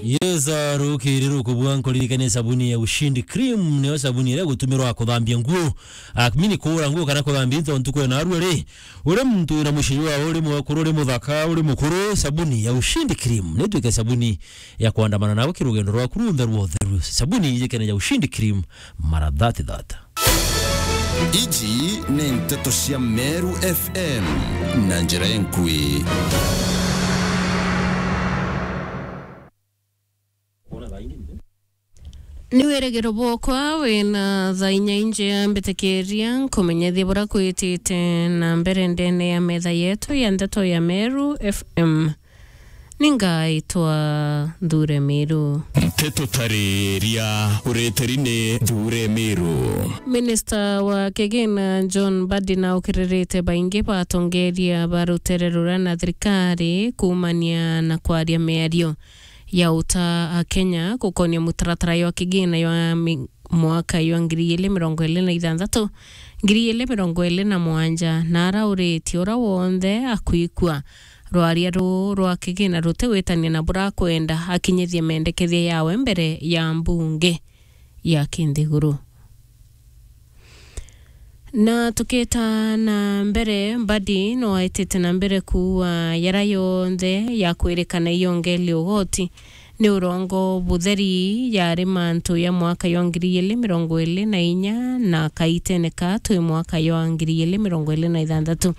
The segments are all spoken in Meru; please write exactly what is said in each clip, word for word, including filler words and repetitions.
Yes, ah, rukiri rukubua nkuririkanie sabuni ya Ushindi Cream, niyo sabuni iria igutumirwa kuthambia nguo. Ah, mini kuura nguo kana kuthambia into ntuku ya narua ri. Uri muntu wina mucii jwawe, uri mwekuru, uri muthaka, uri mukuru, sabuni ya Ushindi Cream nitwike sabuni ya kwandamana nawe ki rugendo rwaku runthe rwa utheru. Sabuni ijikene ya Ushindi Cream, mara thirty thirty. Iji ni nteto cia Meru F M na njira enkui. Ni wirigiro bwokwa wina thaa inya injea mbitikiria nkumenyethie buria kwitite na mbere ndene ya metha yetu ya nteto ya Meru F M. Ningaitwa Nthure Miru. Nteto tariria ureteri ni Nthure Miru. Minista wa kigina John Mbadi naukiririte baingi batongeria ba rutere ruria na thirikari kuumania na kwaria miario ya uta a Kenya gukonia mutaratara jwa kigina jwa mi-, mwaka jwa ngiri igiri mirongo iri na ithanthatu, ngiri igiri mirongo iri na mugwanja, na arauritie uria wonthe akwikua rwaria ruu rwa kigina rutigwitania na burakwenda akinyithie mendekethia yawe mbere ya mbunge ya kinthiguru. Na tukita na mbere, Mbadi no aitite na mbere kuua yara yonthe ya kwirikana iyongeli ugoti ni urongo butheri yari mantu ya mwaka ya ngiri igiri mirongo iri na inya na kaitene ka twi mwaka ya ngiri igiri mirongo iri na ithanthatu.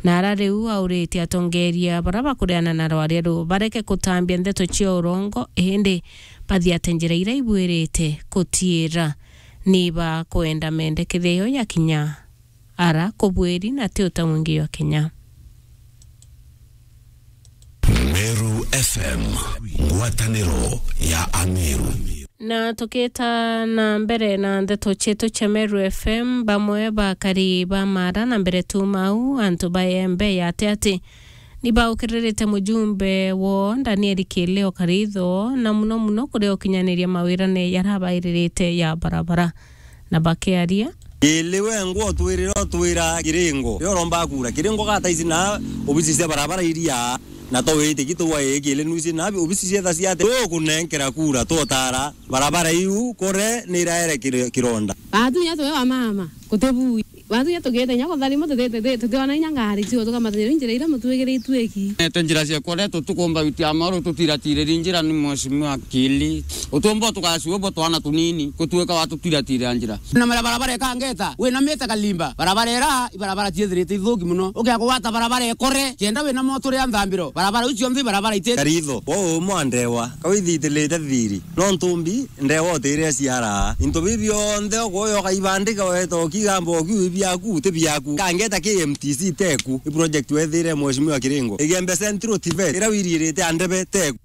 Na ara riu auritie atongeria bara bakuriana na rwaria ruu bareke kutambia ndeto cia urongo, indi bathiate njira iria ibuirite kutiira ni bakwenda mendekithia yo ya kinya ara kubwiri na ti uta mwingi jwa Kenya. Meru F M, ngwataniro ya Ameru. Na tukita na mbere na ndeto cietu cia Meru F M, bamwe bakari ba Mara na mbere tu mau, antu ba Embe ya Atiati, ni baukiririte mujumbe wo Daniel Kileo Karitho, na muno muno kuria ukinyaniria mawirane jarabairirite ya barabara. Na bakiaria, Kili wengwa utwirira utwira Kiringo. Rio uromba kura. Kiringo gata ici na obisi cia barabara iria. Na to wite kitu wa ii kili nuci na obisi cia tha cia ati. Tukunenkera kura, twotara. Barabara iu kore ni iraere kiri-, kironda. Batu ya tuwe wa mama, kutibui. Batu ya tugite nya kutharima, tuti-, tuti-, tutiona inya ngari cio tukamata njira iria mutwigiritue ki. Nete njira cia kore tutukumba witi ya maru tutiratiririe njira ni mheshimiwa Kili. Utumbo tukasiwe bo twana tunini, kutuika watutiratirira njira. Na mara barabara ikangeta, wina mita kalimba. Barabara ira, ibarabara ciithirite ithuki muno. Ukia kugwata barabara ikore, kenda wina moto ria nthambiro. Barabara iu cionthe ibarabara iti. Karitho, wo umwe andewa. Kau ithiitirite thiri. No ntumbi, ndewa utiire ciara. Into biu bionthe ukwoya ukaibandika weta ukigamba ukiu ibiaku, ti biaku. Kangeta K M T C teku. I project wethire mheshimiwa Kiringo. Igembe Central Tivet, ira wiriirite andebe teku.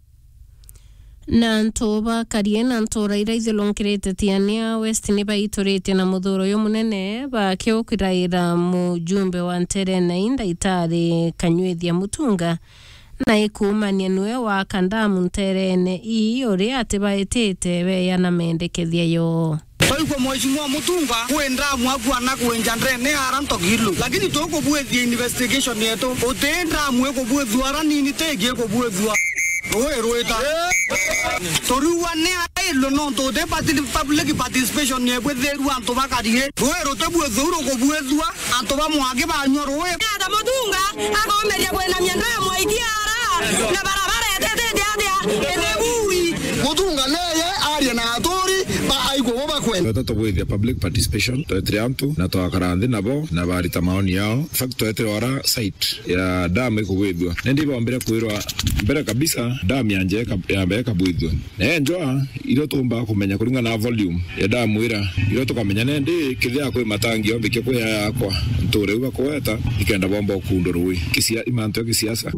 Na antu ba Karie na ntura iria ithiurungirite Tiania West ni baituritie na muthuro uyu munene bakiukiraira mujumbe wa nterene ii Ndaitari Kanyuithia Mutunga, na ikuumania niwe wa Kandamu nterene ii uria atibaitite beya na mendekethia yoo. Twaigua Mheshimiwa Mutunga kwi ndamu akua na kwinja ndene ara Ntogilu. Lakini tukubwithia investigation yetu. Uti ndamu ikubwithua ara nini tingi ikubwithua. Rui rwita. Turiua ni ailwe nontu uti parti-, public participation yebwithirua antu bakarie. Rui rutibwithua rukubwithua antu ba Mwangi banyua rui. Ata Mutunga akomeria kwinamia ndamu aikia ara na barabara itete atia itibui. Mutunga neye aria na aturi ba aigua bo bakwenda. Tweta tubwithia public participation, twetire antu na twakara nthi nabo na barita maoni yao. In fact, twetire ora site ya dam ikubwithua. Nindi ibombire kwirwa mbere kabisa dam yanje ika-, yambe ikabwithua. Na enjwa irio tumba kumenya kuringana na volume ya dam ira, irio tukamenya nindi kithia kwi matangi ombikia kwi yakwa nture uga kuweta ikenda bomba ukundu rui. Kisia-, imantu ya kisiasa.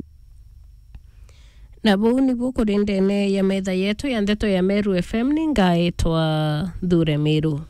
Na buu nibu kuri ndene ya metha yetu ya ndeto ya Meru F M, ni ngaitwa Nthure Miru.